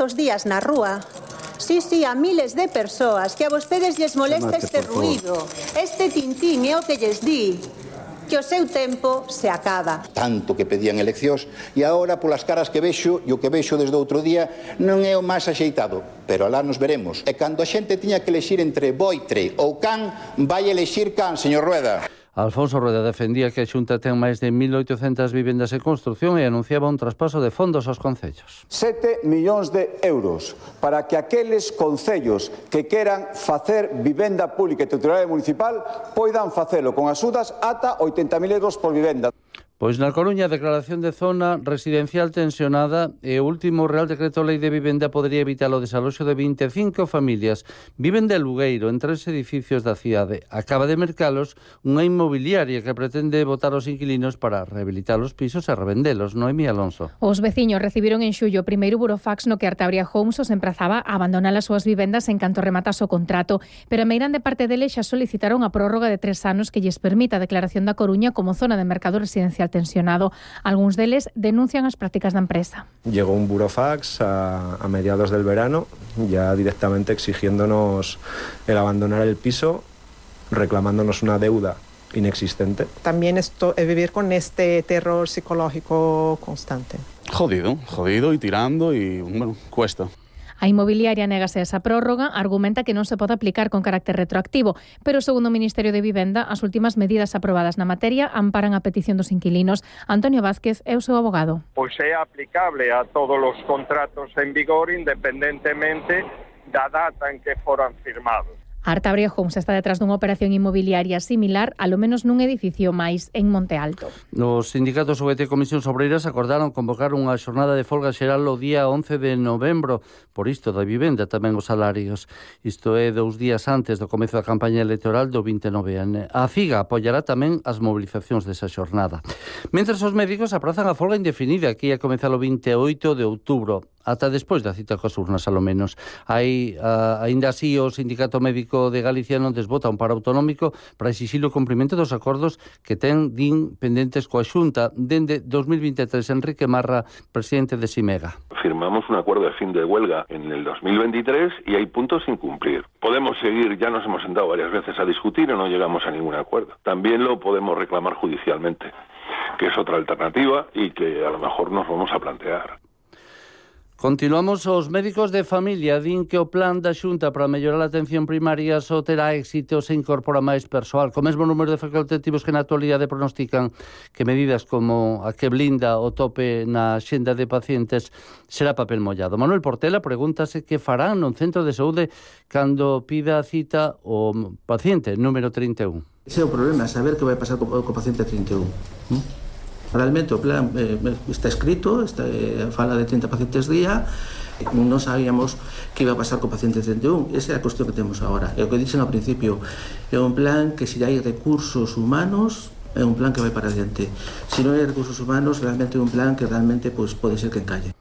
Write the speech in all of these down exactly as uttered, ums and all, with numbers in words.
estos días na rúa. Sí, sí, a miles de persoas que a vostedes lles molesta este ruído, este tintín é o que lles di que o seu tempo se acaba. Tanto que pedían eleccións e agora polas caras que vexo e o que vexo desde outro día non é o máis axeitado, pero alá nos veremos. E cando a xente tiña que elexir entre boitre ou can, vai elexir can, señor Rueda. Alfonso Rueda defendía que a Xunta ten máis de mil oitocentas vivendas en construción e anunciaba un traspaso de fondos aos concellos. Sete millóns de euros para que aqueles concellos que queran facer vivenda pública e titular municipal poidan facelo con axudas ata oitenta mil euros por vivenda. Pois na Coruña, a declaración de zona residencial tensionada e o último Real Decreto Lei de Vivenda podería evitar o desaloxo de vinte e cinco familias. Viven de alugueiro en tres edificios da cidade. Acaba de mercalos unha inmobiliaria que pretende botar os inquilinos para rehabilitar os pisos e revendelos. Noemí Alonso. Os veciños recibiron en xullo o primeiro burofax no que Artabria Homes os emprazaba a abandonar as súas vivendas en canto rematas o contrato, pero a meirán de parte deles xa solicitaron a prórroga de tres anos que lles permita a declaración da Coruña como zona de mercado residencial tensionado. Algúns deles denuncian as prácticas da empresa. Llegó un burofax a, a mediados del verano, ya directamente exigiéndonos el abandonar el piso, reclamándonos una deuda inexistente. También esto es vivir con este terror psicológico constante. Jodido, jodido y tirando y, bueno, cuesta. A inmobiliaria negase a esa prórroga, argumenta que non se pode aplicar con carácter retroactivo, pero segundo o Ministerio de Vivenda, as últimas medidas aprobadas na materia amparan a petición dos inquilinos. Antonio Vázquez é o seu abogado. Pois é aplicable a todos os contratos en vigor independentemente da data en que foran firmados. Artabria Homes está detrás dunha operación inmobiliaria similar, alo menos nun edificio máis en Monte Alto. Os sindicatos U G T e Comisións Obreiras acordaron convocar unha xornada de folga xeral o día once de novembro, por isto da vivenda, tamén os salarios. Isto é dous días antes do comezo da campaña electoral do vinte e nove. A CIGA apoiará tamén as mobilizacións desa xornada. Mentres os médicos aprazan a folga indefinida que ia comezar o vinte e oito de outubro. Ata despois da cita coas urnas, alo menos. Hai, uh, ainda así, o Sindicato Médico de Galicia non desbota un paro autonómico para exixir o cumprimento dos acordos que ten, din, pendentes coa Xunta. Dende dos mil vinte e tres, Enrique Marra, presidente de Simega. Firmamos un acuerdo de fin de huelga en el dos mil veintitrés y hay puntos sin cumplir. Podemos seguir, ya nos hemos sentado varias veces a discutir y no llegamos a ningún acuerdo. También lo podemos reclamar judicialmente, que es otra alternativa y que a lo mejor nos vamos a plantear. Continuamos. Os médicos de familia din que o plan da Xunta para mellorar a atención primaria só terá éxito se incorpora máis persoal, co mesmo número de facultativos que na actualidade pronostican que medidas como a que blinda o tope na xenda de pacientes será papel mollado. Manuel Portela pregúntase que farán nun centro de saúde cando pida a cita o paciente número trinta e un. Ese é o problema, saber que vai pasar co, co paciente trinta e un. ¿Mm? Realmente o plan eh, está escrito, está, eh, fala de trinta pacientes día, non sabíamos que iba a pasar co paciente trinta e un. Esa é a cuestión que temos agora. É o que dixen ao principio, é un plan que se hai recursos humanos, é un plan que vai para adiante. Se non hai recursos humanos, realmente é un plan que realmente pues, pode ser que encalle.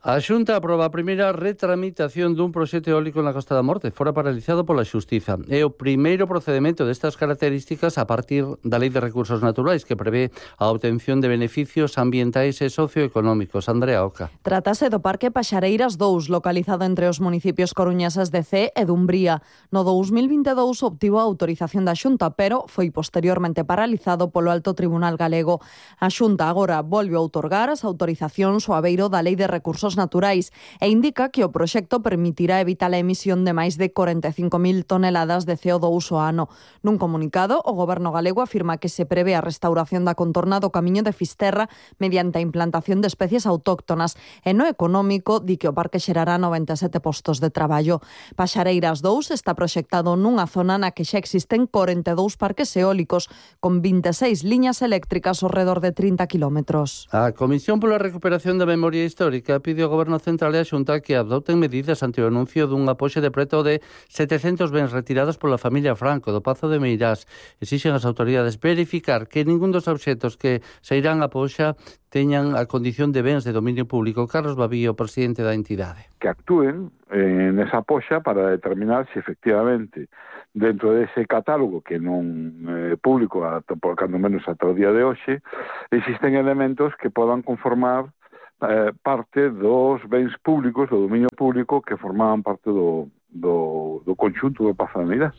A Xunta aproba a primeira retramitación dun proxecto eólico na Costa da Morte, fora paralizado pola Xustiza. É o primeiro procedimento destas características a partir da Lei de Recursos Naturais, que prevé a obtención de beneficios ambientais e socioeconómicos. Andrea Oca. Trátase do Parque Paxareiras dous, localizado entre os municipios coruñeses de Cee e Dumbría. No dous mil vinte e dous obtivo a autorización da Xunta, pero foi posteriormente paralizado polo Alto Tribunal Galego. A Xunta agora volve a outorgar as autorizacións ao abeiro da Lei de Recursos Naturais e indica que o proxecto permitirá evitar a emisión de máis de corenta e cinco mil toneladas de C O dous ao ano. Nun comunicado, o Goberno galego afirma que se prevé a restauración da contorna do Camiño de Fisterra mediante a implantación de especies autóctonas e no económico di que o parque xerará noventa e sete postos de traballo. Paxareiras dous está proxectado nunha zona na que xa existen corenta e dous parques eólicos con vinte e seis liñas eléctricas ao redor de trinta kilómetros. A Comisión pola Recuperación da Memoria Histórica pide ao Goberno Central e a Xunta que adopten medidas ante o anuncio dun apoio de preto de setecentos bens retirados pola familia Franco do Pazo de Meirás. Exixen as autoridades verificar que ningún dos obxetos que se irán a poxa teñan a condición de bens de dominio público. Carlos Babío, presidente da entidade. Que actúen eh, nesa poxa para determinar se efectivamente dentro dese catálogo que non é eh, público, ata, por cando menos ata o día de hoxe, existen elementos que podan conformar eh, parte dos bens públicos, do dominio público que formaban parte do, do, do conxunto do Pazo da Meirás.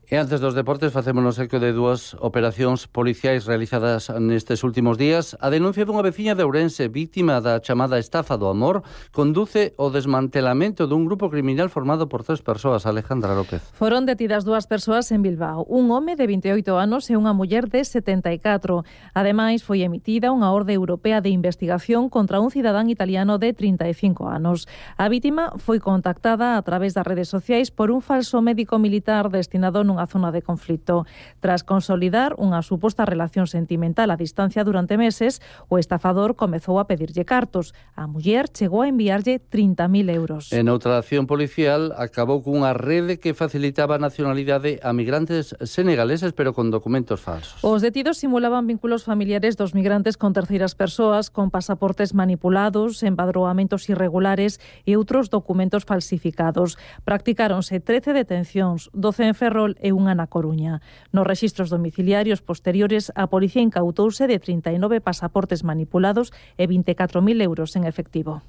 E antes dos deportes facémonos eco de dúas operacións policiais realizadas nestes últimos días. A denuncia dunha veciña de Ourense, vítima da chamada estafa do amor, conduce ao desmantelamento dun grupo criminal formado por tres persoas. Alejandra López. Foron detidas dúas persoas en Bilbao, un home de vinte e oito anos e unha muller de setenta e catro. Ademais, foi emitida unha orde europea de investigación contra un cidadán italiano de trinta e cinco anos. A vítima foi contactada a través das redes sociais por un falso médico militar destinado nun unha zona de conflito. Tras consolidar unha suposta relación sentimental a distancia durante meses, o estafador comezou a pedirlle cartos. A muller chegou a enviarlle trinta mil euros. En outra acción policial, acabou cunha rede que facilitaba a nacionalidade a migrantes senegaleses, pero con documentos falsos. Os detidos simulaban vínculos familiares dos migrantes con terceiras persoas, con pasaportes manipulados, empadroamentos irregulares e outros documentos falsificados. Practicáronse trece detencións, doce en Ferrol e unha na Coruña. Nos rexistros domiciliarios posteriores, a policía incautouse de trinta e nove pasaportes manipulados e vinte e catro mil euros en efectivo.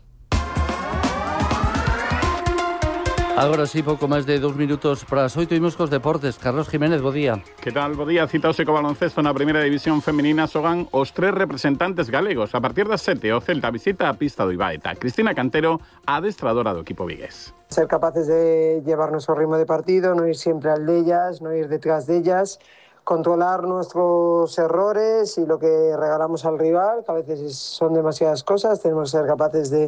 Agora sí, pouco máis de dous minutos para as oito, imos cos deportes. Carlos Jiménez, bo día. Que tal, bo día? Citaose co baloncesto na primeira división feminina, xogan os tres representantes galegos. A partir das sete, o Celta visita a pista do Ibaeta. Cristina Cantero, adestradora do equipo vigués. Ser capaces de llevar nuestro ritmo de partido, no ir siempre al de ellas, no ir detrás de ellas, controlar nuestros errores y lo que regalamos al rival, que a veces son demasiadas cosas, tenemos que ser capaces de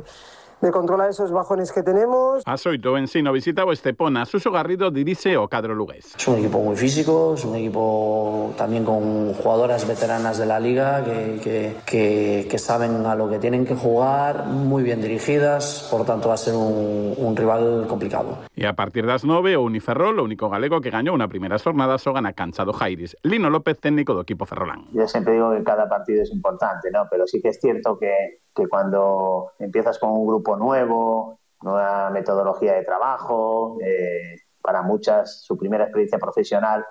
de controlar esos bajones que tenemos. A oito, o Ensino visita o Estepona. Suso Garrido dirige o cadro lugués. Es un equipo muy físico, es un equipo también con jugadoras veteranas de la liga que, que, que, que saben a lo que tienen que jugar, muy bien dirigidas, por tanto va a ser un, un rival complicado. E a partir das nove, o Uniferrol, o único galego que gañou unha primeira xornada, xoga na cancha do Jairis. Lino López, técnico do equipo ferrolán. Yo siempre digo que cada partido es importante, ¿no? Pero sí que es cierto que, que cuando empiezas con un grupo nuevo, nueva metodología de trabajo, eh, para muchas su primera experiencia profesional,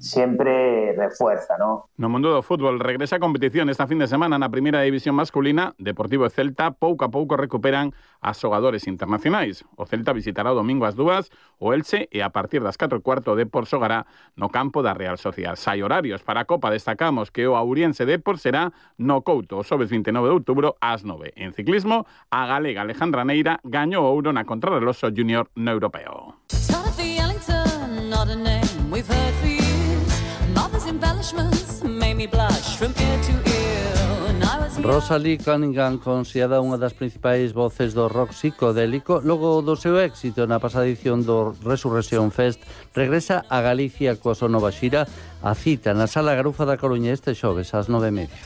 siempre refuerza, ¿no? No mundo do fútbol regresa a competición esta fin de semana na primeira división masculina. Deportivo e Celta pouco a pouco recuperan a xogadores internacionais. O Celta visitará o domingo ás dúas o Elche e a partir das catro e cuarto o Depor xogará no campo da Real Sociedad. Sai horarios para a Copa, destacamos que o Auriense Depor será no Couto o xoves vinte e nove de outubro ás nove. En ciclismo, a galega Alejandra Neira gañou ouro na contrarreloxo junior no europeo. Rosalie Cunningham, considerada unha das principais voces do rock psicodélico, logo do seu éxito na pasada edición do Resurrection Fest, regresa a Galicia coa súa nova xira. A cita na Sala Garufa da Coruña este xoves ás nove e media.